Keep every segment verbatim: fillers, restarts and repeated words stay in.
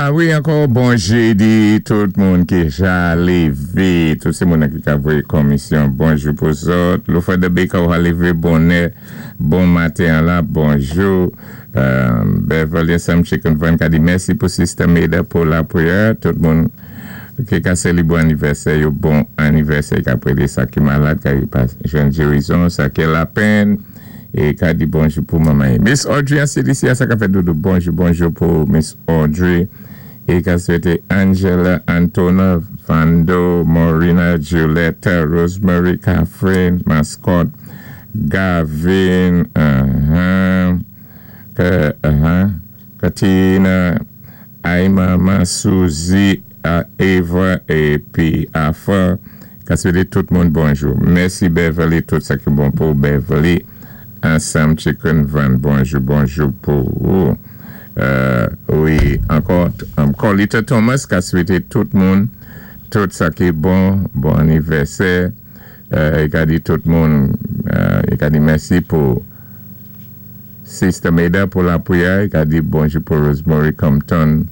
Ah wi, ankò bon jédi, tout moun ki ja lévé, tout sé moun ki ka voyé komisyon, bonjou pou zòt. Lofred Baker ou a lévé bonè, bon maten la, bonjou. Euh, Beverly Sam Chicken Van ka di mèsi pou Sister Maida pou lapwiyè, tout moun ki ka sélibwé anivèsè, yo bon anivèsè, ka pwédé sa ki malad, ka pa jwenn gérizon, sa ki lapenn, é ka di bonjou pou manman. Miss Audrey an C D C, sa ka fèt doudou, bonjou, bonjou pou Miss Audrey, é ka swété Angela, Antona, Vando, Maurina, Julietta, Rosemary, Catherine, Mascot, Gavin, uh-huh, Ka, uh-huh, Katina, Aimama, Suzy, uh, Eva, épi Afa, ka swété tout moun bonjou. Mèsi Beverly, tout sa ki bon pou Beverly. Ansam Chicken Van, bonjou, bonjou pou ou. Euh, wi, ankò, um, Colita Thomas, ka swété tout moun, tout sa ki bon, bon anivèsè. Euh, i ka di tout moun, euh, i ka di mèsi pou Sister Maida pou lapwiyè, i ka di bonjou pou Rosemary Compton,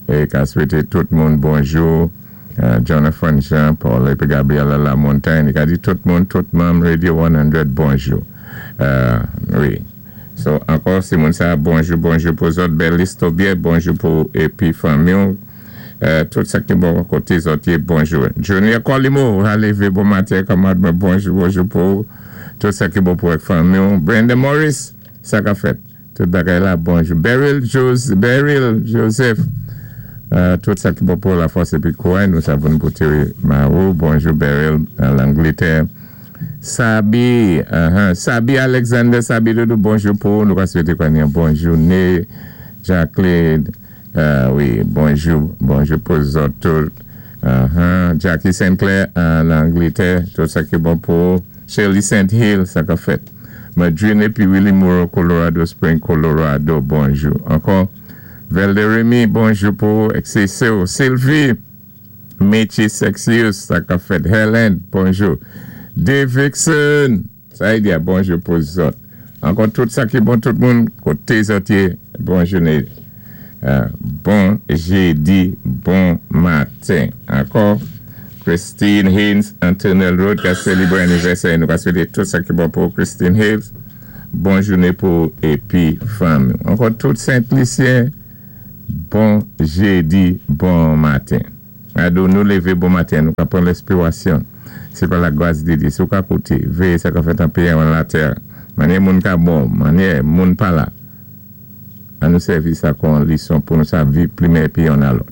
é ka swété tout moun bonjou. Euh, Jonathan Jean, Paul épi Gabriela Lamontagne, i ka di tout moun, tout manm Radio san, bonjou. Euh, wi. So, ankò, si moun sa, bonjou, bonjou pou zòt, Belis Tobier, bonjou pou épi fanmi. Euh, tout sa ki bon koté zòt, bonjou. Junior Colimo, a lévé bon maten, kanmad, bonjou, bonjou pou tout sa ki bon pou fanmi. Brenda Morris, sa ka fèt. Tout bagay la, bonjou. Beryl Jose, Beryl Joseph, euh, tout sa ki bon pou lafòs épi kouray, nou savons pou Terry Marou, bonjou Beryl, an Langlétè. Sabi, uh-huh. Sabi Alexander, Sabi Doudou, bonjou pou nou ka swété kwa ni bon jouné. Jacqueline, euh, wi, bonjou, bonjou pou zòt tout. Uh-huh. Jackie Sinclair an Anglétè, tout sa ki bon pou Shirley Saint Hill, sa ka fèt. Madrine épi Willie Moore, Colorado Spring, Colorado, bonjou. Ankò, Velde Remy, bonjou pou X C C O. Sylvie, Mechi Sexius, sa ka fèt. Helen, bonjou. Dave Vixen, sa y di a bonjou pou zòt. Ankò tout sa ki bon tout moun, koté zòt yé, bon jouné. Euh, bon jédi, bon maten. Ankò, Christine Haynes, Antonel Road, ka sélibwé anivèsè, nou ka swété tout sa ki bon pou Christine Haynes. Bon jouné pou épi fanmi. Ankò tout Saint-Lucien, bon jédi, bon maten. Ado nou lévé bon maten, nou ka pran lenspirasyon. Sé pa lagras di Dye, sou ka kouté, véyé sa ka fèt an péyi an latè, mannyè moun ka bon, mannyè moun pa la. An nou sèvi sa kon lison pou nou sa viv pli mèyè pi yon a lòt.